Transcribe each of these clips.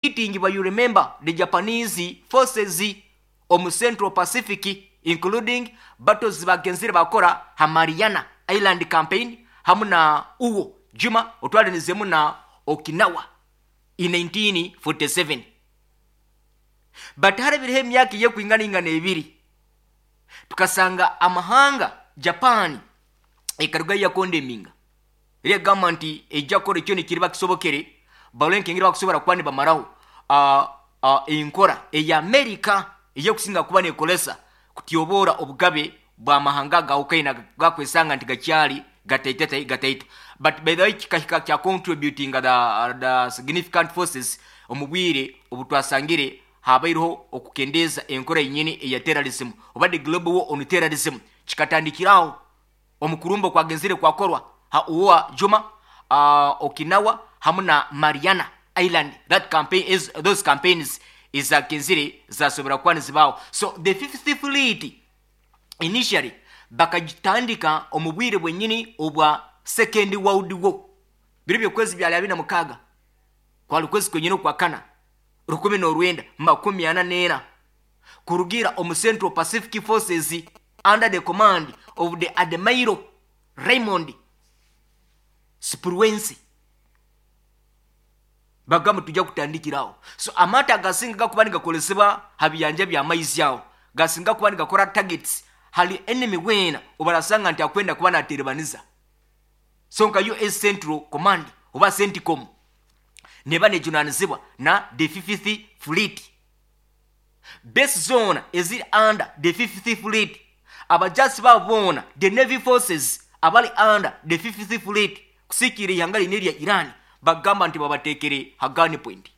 Defeating by you remember the Japanese forces omu Central Pacific including battles zibagenzire bakora ha Mariana Island campaign hamu na Iwo Jima otwarinizemu na Okinawa in 1947. But harabireho emyaka eyekwinganaingana ebiri tukasanga amahanga Japan ekarugayo yakondeminga Reero egamba nti eija kukora ekyo ekiriba kisobokere barole nk'engeri bakusobora kuba nibamaraho enkora eya Amerika ey'okusinga kuba neekoresa kutyoboora obugabe bw'amahanga agahukaine agakwesanga nti gakyari gataito gataito. But by the way kikahika kya contributinga the significant forces omu bwire obu twasangire habaireho okukendeeza enkora yenyini eya terrorism oba the global war on terrorism kikatandikira aho. Omu kurumba okwagenzire kwakorwa ha Iwo Jima, Okinawa hamu na Mariana Island that campaign is those campaigns ezagenzire zasobora kuba nizibaho. So the fifth fleet initially bakagitandika omu bwire bwenyini obwa second world war biro byokwezi byali abiri na mukaaga kwali kwezi kwenyini okwakana 1944 kurugiira omu Central Pacific Forces under the command of the Admiral Raymond Spruance. Bagamba nituija kutandikira aho. So amaato agasinga gakuba nigakoresibwa ha biyanja by'amaizi aho gasinga kuba nigakora targets hali enemy weena obarasanga nti akwenda kuba naterebaniza. So nka US Central Command oba CENTCOM neba nejunanizibwa na the Fifth Fleet. Base zoona eziri under the Fifth Fleet, abajaasi baabo boona, the Navy forces abari under the Fifth Fleet kusiikiira eihanga riine erya Iran bakugamba nti babateekire ha gun point.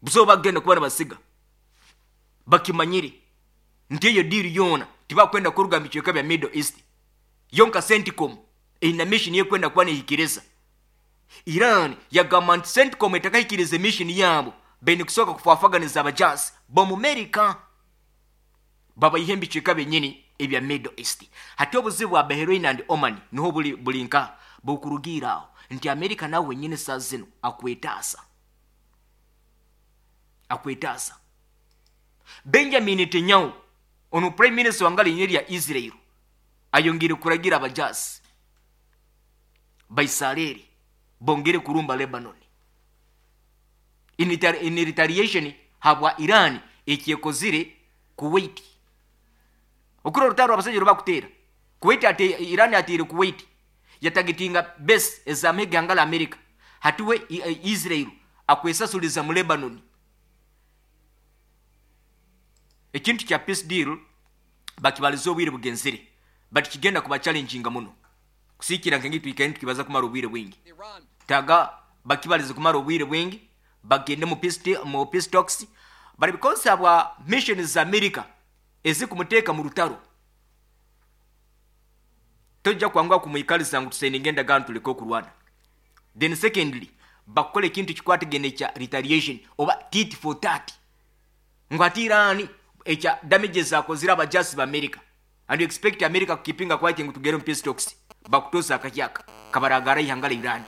Busaho bakugenda kuba nibasiga bakimanyire nti eyo deal yoona tibakwenda kuruga omu bicweka bya Middle East. Yo nka Centcom eine mission ekwenda kuba nehikiriza. Iran yagamba nti Centcom etakahikiriize mission yaabo, baine kusooka kufwafaganiza abajaasi b'Omumerika babaihe omu bicweka byenyini ebya Middle East. Hati obuzibu bwa Bahrain and Oman niho buri buri nkaha? Bukurugiira aho nti Amerika nawe wenyini saaha zinu akwetaasa. Akwetaasa. Benjamin Netanyahu onu Prime Minister wanga riine erya Israel ayongiire kuragira abajaasi Baisareri bongere kurumba Lebanon in retaliation habwa Iran ekyekozire Kuwait. Okura orutaro abasaija orubakuteera Kuwait ate Iran ateire Kuwait yatagetinga base ez'amahe g'ihanga la America hati we Israel akwesasuliza mu Lebanon. Ekintu kya peace deal bakibalize obwire bugenzire but kigenda kuba challenginga muno. Kusiikira nk'engeri twikaire nitukibaza kumara obwire bwingi. Taga bakibalize kumara obwire bwingi bagende mu peace, mu peace talks but because habwa missions za America ezikumuteeka mu rutaro tojja kwanguha kumwikaliza ngu tusaininge endagaano tuleke okurwana. Then secondly bakukora ekintu ekikwatagaine ekya retaliation oba tit for tat ngu hati Iran ekya damage ezakozire abajasi ba America And you expect America ku keepinga quiet ngu tugere omu peace talks bakutoza akahyaka kabaragara eihanga rya Iran.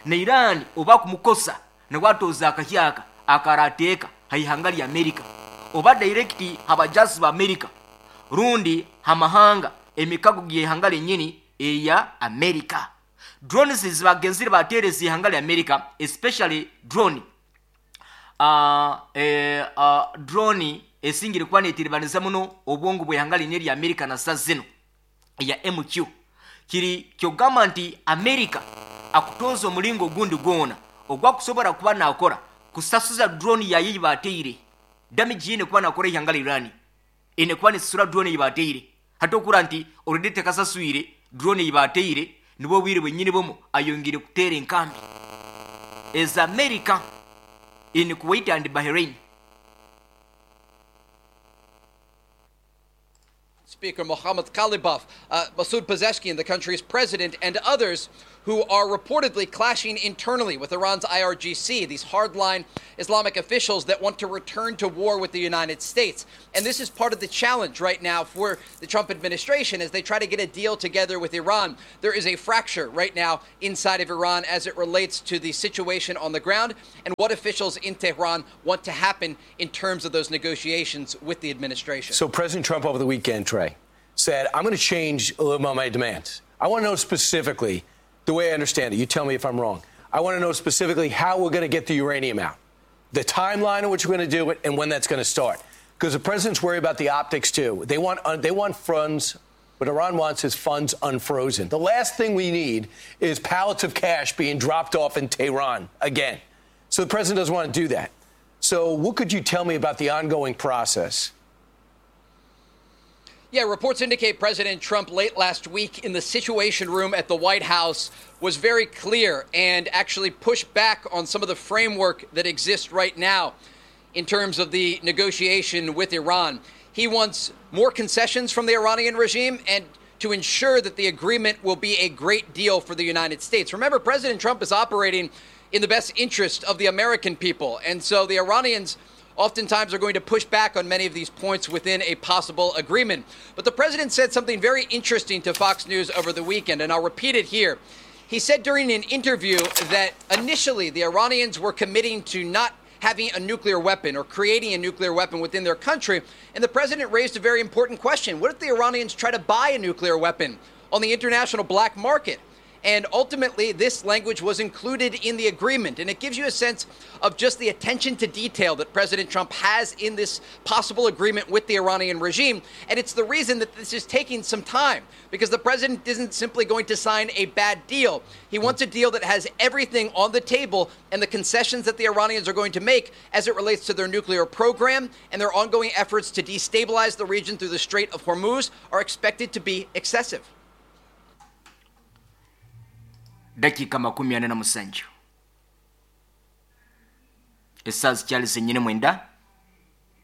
Na Iran oba kumukosa nawe atoza akahyaka akarateeka ha ihanga rya America oba direct ha bajasi ba America rundi ha mahanga emikago geihanga renyini eya America. Drones ezibagenzire batereza eihanga rya America especially drone Drone esingire kuba netiribaniza muno obwongo bw'eihanga rini erya Amerika na saaha zinu eya MQ kiri ky'okugamba nti Amerika akutooza omuringo ogundi gwona ogu akusobora kuba nakora kusasuza drone yaayo ei baateire damage eine kuba nakora eihanga rya Iran eine kuba nesasura drone ei baateire hati okuhurira nti already tekasaswire drone ei baateire nibwo obwire bwenyini bumwe ayongiire kuteera enkambi eza America in Kuwait and Bahrain. Speaker Mohammad Qalibaf, Masoud Pezeshkian, the country's president, and others who. who are reportedly clashing internally with Iran's IRGC, these hardline Islamic officials that want to return to war with the United States. And this is part of the challenge right now for the Trump administration as they try to get a deal together with Iran. There is a fracture right now inside of Iran as it relates to the situation on the ground and what officials in Tehran want to happen in terms of those negotiations with the administration. So President Trump over the weekend, Trey, said, I'm going to change a little of my demands. I want to know specifically, the way I understand it, you tell me if I'm wrong. I want to know specifically how we're going to get the uranium out, the timeline in which we're going to do it, and when that's going to start. Because the president's worried about the optics, too. They want funds. What Iran wants is funds unfrozen. The last thing we need is pallets of cash being dropped off in Tehran again. So the president doesn't want to do that. So what could you tell me about the ongoing process? Yeah, reports indicate President Trump late last week in the Situation Room at the White House was very clear and actually pushed back on some of the framework that exists right now in terms of the negotiation with Iran. He wants more concessions from the Iranian regime and to ensure that the agreement will be a great deal for the United States. Remember, President Trump is operating in the best interest of the American people, and so the Iranians oftentimes are going to push back on many of these points within a possible agreement. But the president said something very interesting to Fox News over the weekend, and I'll repeat it here. He said during an interview that initially the Iranians were committing to not having a nuclear weapon or creating a nuclear weapon within their country. And the president raised a very important question. What if the Iranians try to buy a nuclear weapon on the international black market? And ultimately, this language was included in the agreement. And it gives you a sense of just the attention to detail that President Trump has in this possible agreement with the Iranian regime. And it's the reason that this is taking some time, because the president isn't simply going to sign a bad deal. He wants a deal that has everything on the table and the concessions that the Iranians are going to make as it relates to their nuclear program and their ongoing efforts to destabilize the region through the Strait of Hormuz are expected to be excessive. Dakiika 47 essaawa zikyali zenyini mwenda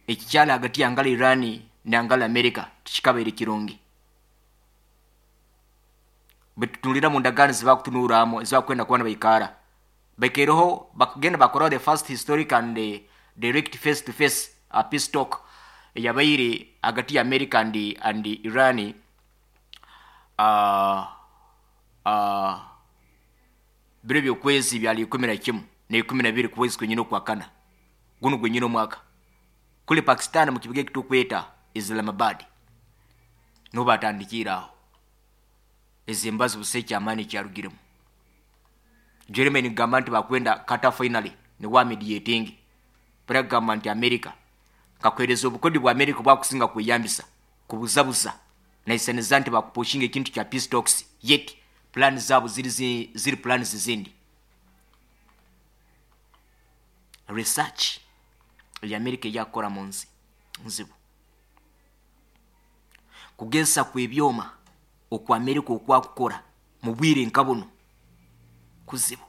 ekikyali hagati yangala Iran nangala America tikikabaire kirungi bwetutunulira mu ndagaano zibakutunuuramu ezibakwenda kuba nibaikara baikaireho bakagenda bakoraho the first historic and direct face to face peace talk eyabaire hagati ya America and Iran biro by'okwezi byali 11 na 12 kwezi kwenyine okwakana guno gwenyine omwaka kuli Pakistan mu kibuga ekitukweta Islamabad niho batandikiire aho ezi embazo busa ekyamaani ekyarugiremu Jeremy nigamba nti bakwenda Qatar finally niwe amediating baragamba nti America nkakuhereza obukodi bwa America bwakusinga kweyambisa kubuzabuza naisaniza nti bakupushinga ekintu kya peace talks yet plan zabo ziri plans zindi. Research ya America yakora mu nsi nzibu kugesa kwebyoma okwa America okwakukora mu bwire nka buno kuzibu.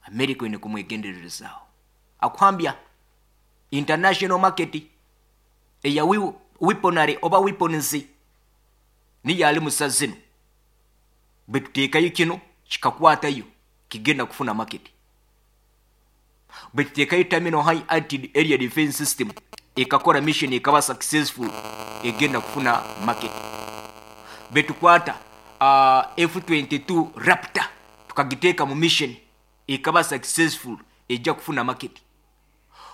America ine kumwegendererezaaho akwambya international market eya weaponry oba weapons niyo ali musazino bwetuteekayo kino kikakwatayo kigenda kufuna market. Bwetuteekayo terminal high altitude area defense system ekakora mission ekaba successful egenda kufuna market. Bwetukwata F-22 Raptor tukagiteeka mu mission ekaba successful ejja kufuna market.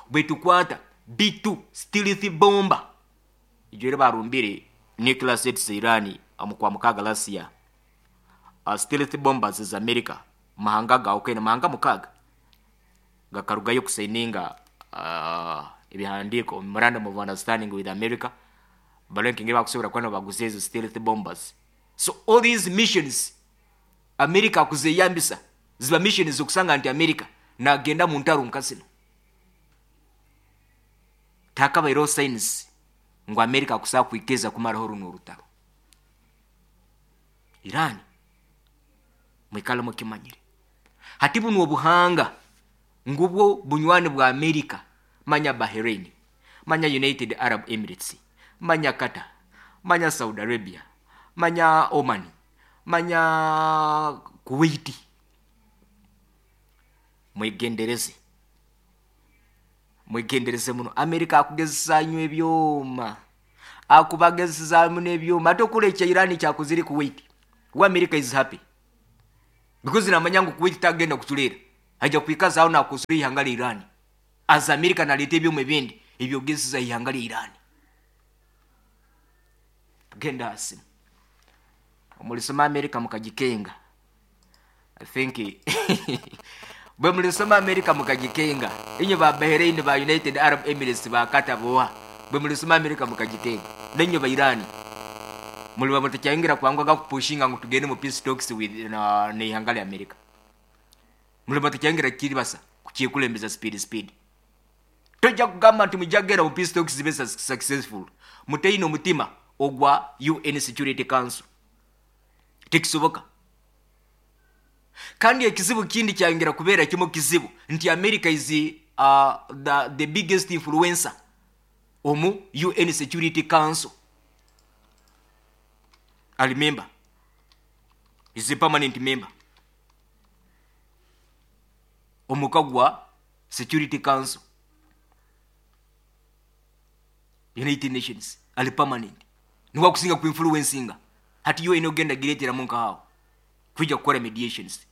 Bwetukwata B2 stealth bomber ejyo barumbire nuclear sets Iran amukwa mukaga last year. Stealth bombers za America mahanga gaukene mahanga mukaga gakarugayo kusaininga ebihandiko memorandum of understanding with America balenkinge bakusobora kwano baguze ezo stealth bombers. So all these missions America kuzeyambisa ziba missions okusanga nti America nagenda mu ntaro nkasino takabairo signs ngo America kusa kwikeza kumaraho runo rutaro. Iran mwikala mukimanyire hati buno obuhanga ngubwo bunywani bwa America manya Bahrain, manya United Arab Emirates, manya Qatar, manya Saudi Arabia, manya Oman, manya Kuwait. Mwegendereze. Mwegendereze muno. Amerika akugezesa nyo ebyoma. Akubagezesa muno ebyoma. Ate okura ekya Iran kyakozire Kuwait. We America is happy. Because namanya ngu Kuwait tagenda kucureera. Aija kwikaza aho nakusura eihanga rya Iran. As America naleeta ebyoma ebindi ebyogezesa eihanga rya Iran. Tugenda aha simu. Omurisoma America mukagikenga. I think bwe murisoma America mukagikenga. Inywe ba Bahrain ba United Arab Emirates ba Qatar boha. Bwe murisoma America mukagikenga. Nainywe ba Iran. Muriba mutakyayongera kwangwa kupushinga ngu tugende mu peace talks with na neihanga rya America. Muriba mutakyayongera kiribasa kukikulembeza speed speed. Tojja kugamba nti mujja kugenda mu peace talks zibe successful. Muteine omutima ogwa UN Security Council. Tekisoboka. Kandi ekizibu kindi kyayongera kubeera kimu kizibu nti America is the biggest influencer omu UN Security Council. I remember is a permanent member omuka gwa Security Council United Nations ali permanent niwe akusinga ku influencinga. Hati UN ogenda gireeteramu nkahawo kwija kukora mediations.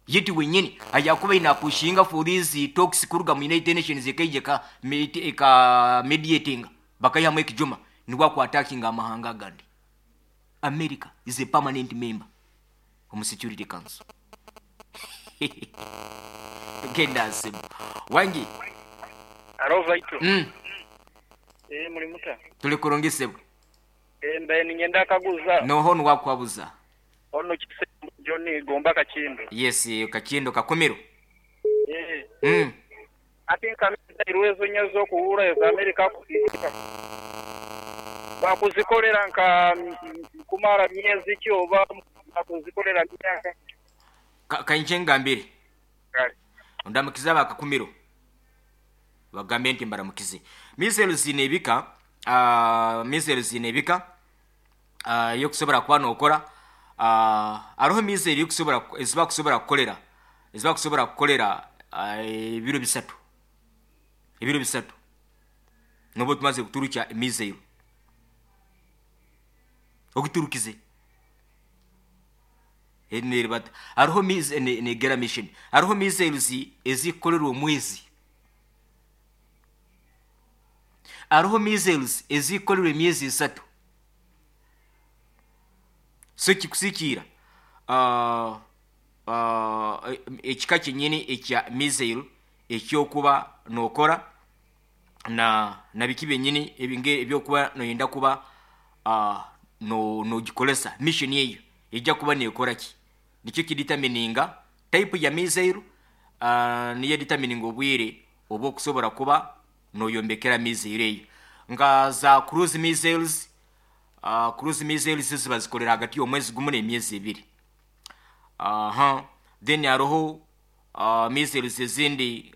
Yeti wenyini ajakuba inapushinga for these talks kuruga mu United Nations ekaija eka mediating bakayihamu ekijuma niwe aku attacking amahanga agandi. America is a permanent member omu Security Council. Tugenda asimu. Wangi. Alo Vaito. Muri muta. Tuli kurungisebwe. Mbaye ninyenda kaguza. Noho nwakwabuza. Ono kisembo John Gomba Kakindo. Yes, Kakindo Kakumiro. Ati nkameza irwezo nyazo kuhura ya Amerika kuzika. Bakuzikolera nka kumara miezi ki oba bakuzikolera myaka. Kainje ngambire. Ondamukiza bakakumiro. Bagambe nti mbaramukize. Missiles zinebika, missiles zinebika yokusobora kuba nokora aroho missile yokusobora eziba kusobora kukolera. Eziba kusobora kukolera ebiro bisatu. Ebiro bisatu. Nobo tumaze kuturukya missile. Okuturukize. Eneribata. Aroho missile ne gera mission. Aroho missiles ezikolerwa omwezi. Aroho missiles ezikolerwa emyezi esatu. So kikusikira ekika kyenyini ekya missile ekyokuba nokora na biki byenyini ebinge ebyokuba noyenda kuba no nogikolesa mission eyo ejja kuba nekora ki nikyo kidetermininga type ya missile niyo determininga obwire oba okusobola kuba noyombekera missile eyo nga za cruise missiles. Cruise missiles ziba zikolera hagati y'omwezi gumu n'emyezi ebiri. Then hariho missiles ezindi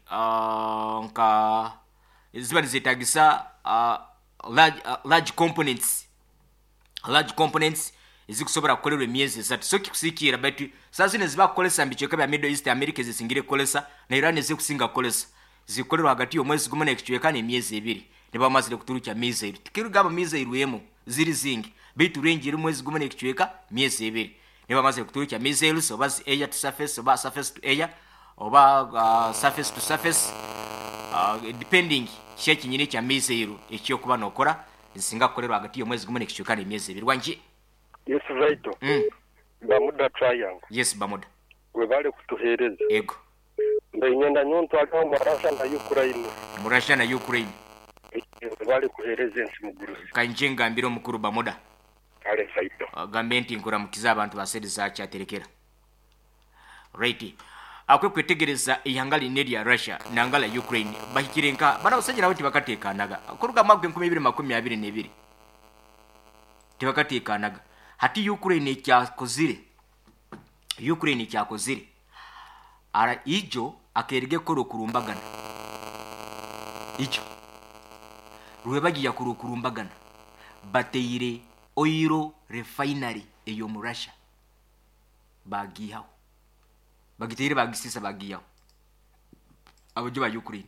nka ziba nizetagisa large components. Large components ezikusobola kukolerwa emyezi esatu. So kikusikira but saa zino ziba kukolesa mu bicweka bya Middle East America ezisingire kukolesa na Iran ezikusinga kukolesa zikolerwa hagati y'omwezi gumu n'ekicweka n'emyezi ebiri. Niba bamazire kuturukya missile. Tikirugamba missile emu ziri zingi baitu range eri mwezi gumu n'ekicweka myezi ebiri. Niba bamazire kuturukya missiles oba air to surface oba surface to air oba surface to surface depending kiki ekinyini kya missile ekyokuba nokora zisinga kukolerwa hagati y'omwezi gumu n'ekicweka n'emyezi ebiri. Wangi. Yes, Vaito. Bamuda Triangle. Yes, Bamuda. Webale kutuhereza. Ego. Mbe nyonto aliho mu Russia na Ukraine. Mu Russia na Ukraine. Webale kuhereza ensi mugurusi. Kanje ngambira omukuru Bamuda. Kale Vaito. Gambe nti nkuramukiza abantu baseriza kyaterekera. Right. Akwe kwetegereza ihanga line lya Russia nangala Ukraine bahikire nka bana basajja nabo tibakatekanaga. Kuruga mwaka 2022. Tibakatekanaga. Hati Ukraine kyakozire. Ukraine kyakozire. Ara ijo akerege koro kurumbagana. Ijo. Rwebagiya koro kurumbagana. Bateire oil refinery eyo mu Russia. Baagiihaho. Bagiteire baagisiisa baagiihaho. Aboojo ba Ukraine.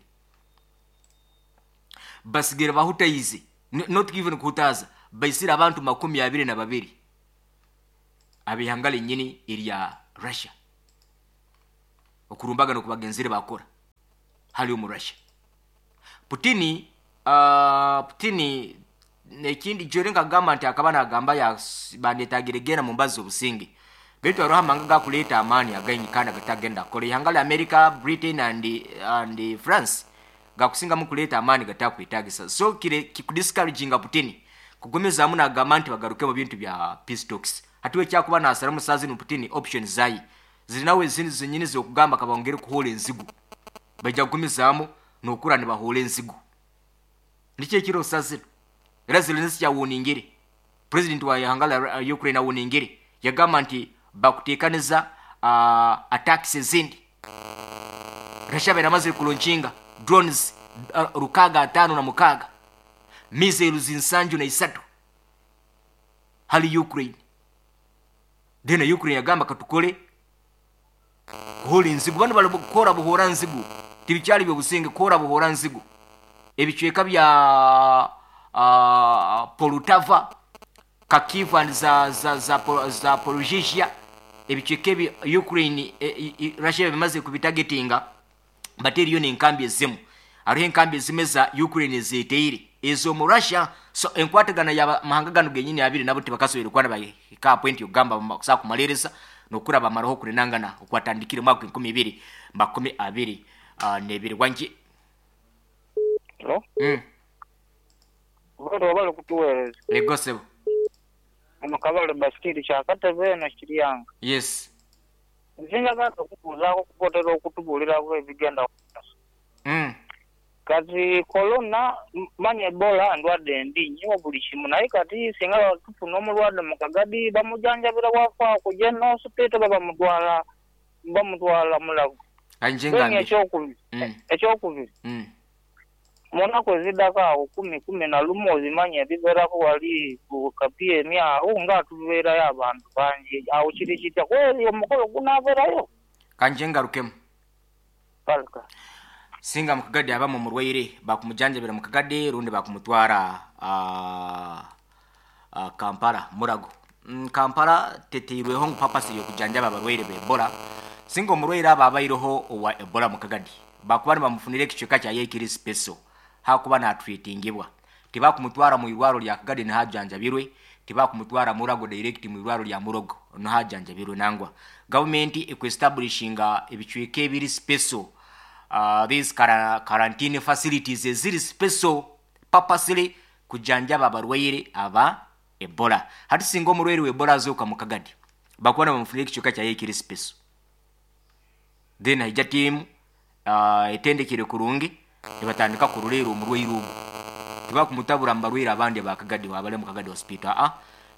Basigaire bahutaize, not even kuhutaaza, baitsire abantu 22 ab'eihanga ryenyini erya Russia. Okurumbagana oku bagenzire baakora hariya omu Russia. Putini, Putini ekindi jweri nkagamba nti akaba nagamba ya bandetagire genda mu mbazi z'obusinge. Baitu haroho amahanga agakuleeta amaani againgi kandi agatagenda kukora. Ihanga lya America, Britain and, and France gakusingamu kuleeta amaani gatakwetagisa. So kire kikudiscouraginga Putini kugumizaamu nagamba nti bagaruke mu bintu bya peace talks. Hati we ekyakuba nasaramu saaha zinu Putini options zaye ziri nawe ezindi zenyini zokugamba kabongere kuhoora enzigu. Baija kugumizaamu nokura nibahoora enzigu. Niki ekiriho saaha zinu? Era Zelensky awoningire, president wa ihanga lya Ukraine awoningire yagamba nti bakutekaniza attacks ezindi. Russia abaire amazire kulonkinga drones 656, missiles 73 hali Ukraine. Then Ukraine yagamba katukore kuhoora enzigu. Banu bari kuhoora buhoora nzigu, tibikyari by'obusinge, kuhoora buhoora nzigu. Ebicweka bya Poltava, Kharkiv and za, za, za, Zaporizhzhia, ebicweka ebi Ukraine, Russia bimaze kubitagetinga, bateeriyo n'enkambi ezimu. Hariho enkambi ezimu eza Ukraine ezeeteire ez'omu Russia. So enkwatagana y'amahanga ganu genyini abiri nabo tibakasoboire kuba nibahika aha point y'okugamba bakusobola kumariiriza n'okukura bamaraho okurenangana okwatandikire omu mwaka gw'enkumi ibiri makumi abiri n'ebiri. Wangi. Hello? Bwire webale kutuweereza. Ego sebo. Ono Kabale Basikiri Kyakatebe eno Kiryanga. Yes. Nze njagala okubuuzaaku kuba otera okutubuuliraku ebigenda mu maiso. Kati Corona, manya Ebola ndwadde mbi inho buli kimu naye kati singa tufuna omulwadde mu Kagadi bamujanjabira bwafa ku General Hospital oba bamutwala bamutwala Mulago? Kanje Then ngambire. ekyokubiri, ekyokubiri mu naku ezidhaku agho kumi, 11 obimanyi ebibeeraku ghali ku KPM agho nga tubeerayo abantu bangi agho kiri kitya? Kweri omukolo gunaabeerayo? Kanje ngarukemu. Kale kale. Singa mu Kagadi abamu omurwaire, bakumujanjabira mu Kagadi rundi bakumutwara Kampala, Murago. Kampala teteirweho ngu purpose y'okujanjaba abarwaire ba Ebola. Singa omurwaire aba abaireho owa Ebola mu Kagadi, bakuba nibamufunira ekicweka kyaye ekiri special hakuba natreatingibwa. Tibakumutwara mu irwaro rya Kagadi niho ajanjabirwe, tibakumutwara Murago direct mu irwaro rya Murogo niho ajanjabirwe nangwa. Gavumenti eku establishinga ebicweka ebiri special, these quarantine facilities eziri special purposely kujanjaba abarwaire aba Ebola. Hati singa omurwaire wa Ebola azooka mu Kagadi, bakuba nibamufunira ekicweka kyaye ekiri special. Then haija tiimu etendekire kurungi nibatandika kuroreera omurwaire ogu. Tibakumutabura mu barwaire abandi aba Kagadi abari omu Kagadi Hospital, aa.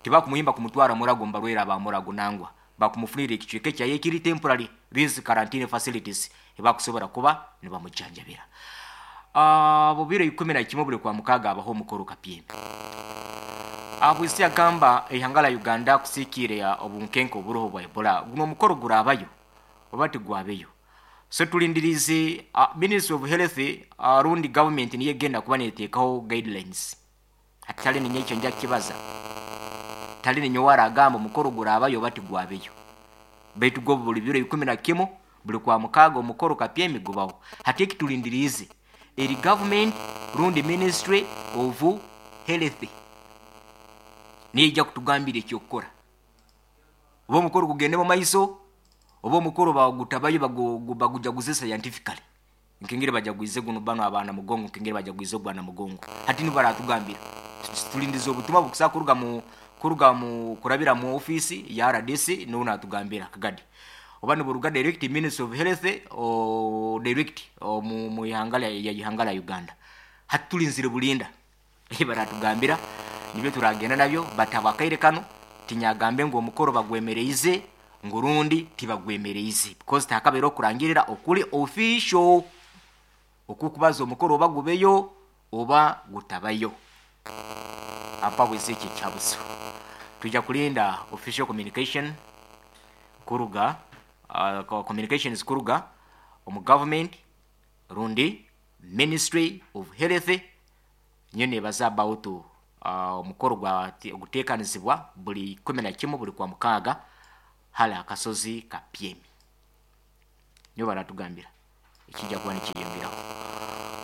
Tibakumuhimba kumutwara Murago omu barwaire aba Murago nangwa. Bakumufunira ekicweka ekyaye ekiri temporary, these quarantine facilities, ebakusobora kuba nibamujanjabira. Bubiro 11 buri Kwamukaaga habaho omukoro Kapyembe. Bwisi yagamba eihanga rya Uganda kusikiire obunkenke oburiho bwa Ebola. Guno omukoro guraabayo oba tigwabeyo? So tulindiriize Ministry of Health rundi gavumenti niyo egenda kuba neteekaho guidelines. Hati tari ninye ekyo nja kukibaza. Tari ninye owaragamba omukoro guraabayo oba tigwabeyo. Baitu gwo buri biro 11 buri Kwamukaaga omukoro Kapyemi gubaho. Hati eki tulindiriize eri gavumenti rundi Ministry of Health niyo eija kutugambira eky'okukora. Oba omukoro gugende mu maiso oba omukoro bagutabayo bagujaguze scientifically. Nk'engeri bajagwize gunu banu aba Namugongo, nk'engeri bajagwize ogwa Namugongo. Hati nibo baratugambira. Tulindize obutumwa bukusa kuruga mu kuruga mu kurabira mu ofiisi ya RDC niwe natugambira Kagadi. Oba niburuga direct Ministry of Health o direct omu mu ihanga lya ya ihanga lya Uganda. Hati tulinzire bulinda ebi baratugambira nibyo turagenda nabyo but habw'akaire kanu tinyagambe ngu omukoro bagwemereize ngu rundi tibagwemereize because tihakabaire okurangirira okuri official okukubaza omukoro oba gubeyo oba gutabayo. Ampabwize ekyo ekihabuzo. Twija kulinda official communication. Kuruga communications kuruga omu government rundi Ministry of Health niyo nebaza about omukoro gwa ogutekanizibwa buli 11 buli kwa mukaaga hali akasozi ka Pyemi. Niyo baratugambira ekijja kuba nikiyongeraho.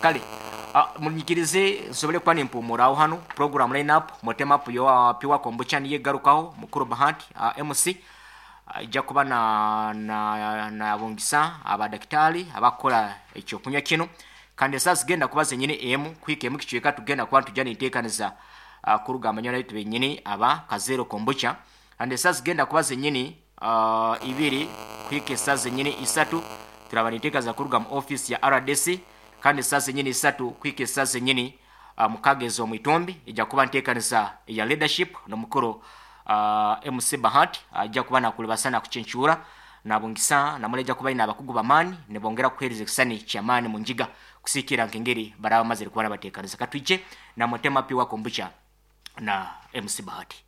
Kale munyikirize nsobole kuba nimpumuraho hanu program lineup mutema up yo piwa kombucha niye garukaho mukuru Bahati MC ijja kuba na na nabungisa abadakitari abakora ekyokunywa kino kandi esaaha zigenda kuba zenyini emu kuhika emu kicweka tugenda kuba nitujya ninteekaniza kuruga amanywa naitu benyini aba Kazero Kombucha kandi esaaha zigenda kuba zenyini ibiri kuhika esaaha zenyini isatu turaba ninteekaniza kuruga mu office ya RDC kandi esaaha zenyini isatu kuhika esaaha zenyini mukaaga ez'omu itumbi ijja kuba nteekaniza eya leadership n'omukuru MC Bahati ajja kuba nakulibasa nakucencura nabungisa namwe ajja kuba aine abakugu b'amaani nibongera kukuheereza ekisani ky'amaani mu ngiga kusiikirra nk'engeri baraba bamazire kuba nabateekaniza. Katwije na Mutema Pure Kombucha na MC Bahati.